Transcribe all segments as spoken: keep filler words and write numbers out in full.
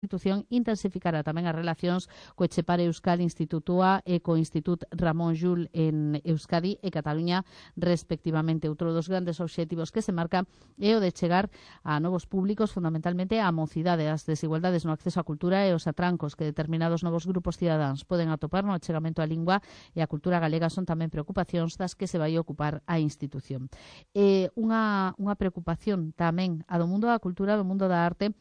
institución intensificará tamén as relacións co Etxepare Euskal Institutua e co Institut Ramón Llull en Euskadi e Cataluña respectivamente. Outro dos grandes obxectivos que se marca é o de chegar a novos públicos, fundamentalmente a mocidade, as desigualdades no acceso á cultura e os atrancos que determinados novos grupos cidadáns poden atopar no achegamento á lingua e á cultura galega son tamén preocupacións das que se vai ocupar a institución. E unha, unha preocupación tamén a do mundo da cultura, do mundo da arte,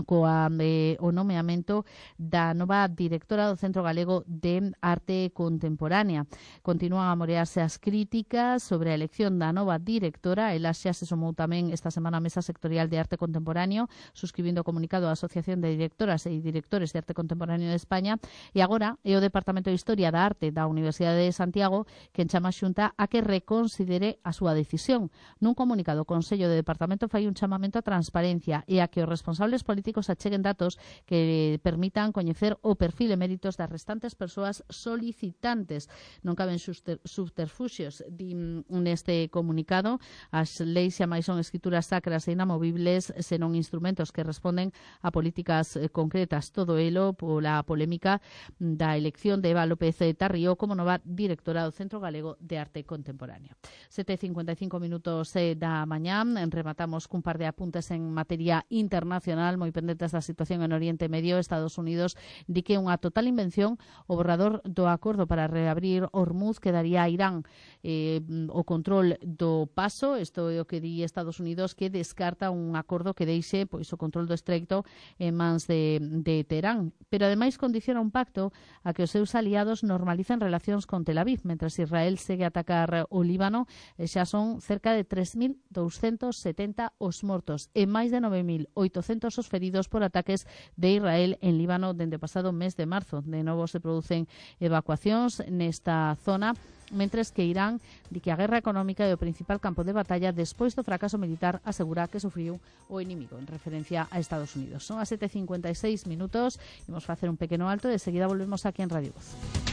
coa eh, o nomeamento da nova directora do Centro Galego de Arte Contemporánea. Continúan a morearse as críticas sobre a elección da nova directora. Ela xa se sumou tamén esta semana a Mesa Sectorial de Arte Contemporáneo, suscribindo o comunicado da Asociación de Directoras e Directores de Arte Contemporáneo de España, e agora é o Departamento de Historia da Arte da Universidade de Santiago que chama a Xunta a que reconsidere a súa decisión. Nun comunicado, o Consello de Departamento fai un chamamento a transparencia e a que os responsables políticos políticos acheguen datos que permitan coñecer o perfil e méritos das restantes persoas solicitantes. Non caben subterfuxios, din neste comunicado. As leis xa máis son escrituras sacras e inamovibles, senón instrumentos que responden a políticas concretas. Todo elo pola polémica da elección de Eva López Tarrío como nova directora do Centro Galego de Arte Contemporáneo. sete e cincuenta e cinco minutos da mañá. Rematamos cun par de apuntes en materia internacional, moi pendentes da situación en Oriente Medio. Estados Unidos di que unha total invención o borrador do acordo para reabrir Hormuz que daría a Irán eh, o control do paso. Isto é o que di Estados Unidos, que descarta un acordo que deixe pois o control do estreito en mans de, de Teherán. Pero ademais condiciona un pacto a que os seus aliados normalicen relacións con Tel Aviv, mentres Israel segue a atacar o Líbano. E xa son cerca de tres mil douscentos setenta os mortos e máis de nove mil oitocentos os feridos por ataques de Israel en Líbano dende o pasado mes de marzo. De novo se producen evacuacións nesta zona, mentres que Irán di que a guerra económica é o principal campo de batalla despois do fracaso militar, asegura que sufriu o inimigo, en referencia a Estados Unidos. Son as sete e cincuenta e seis minutos, imos facer un pequeno alto e de seguida volvemos aquí en Radio Voz.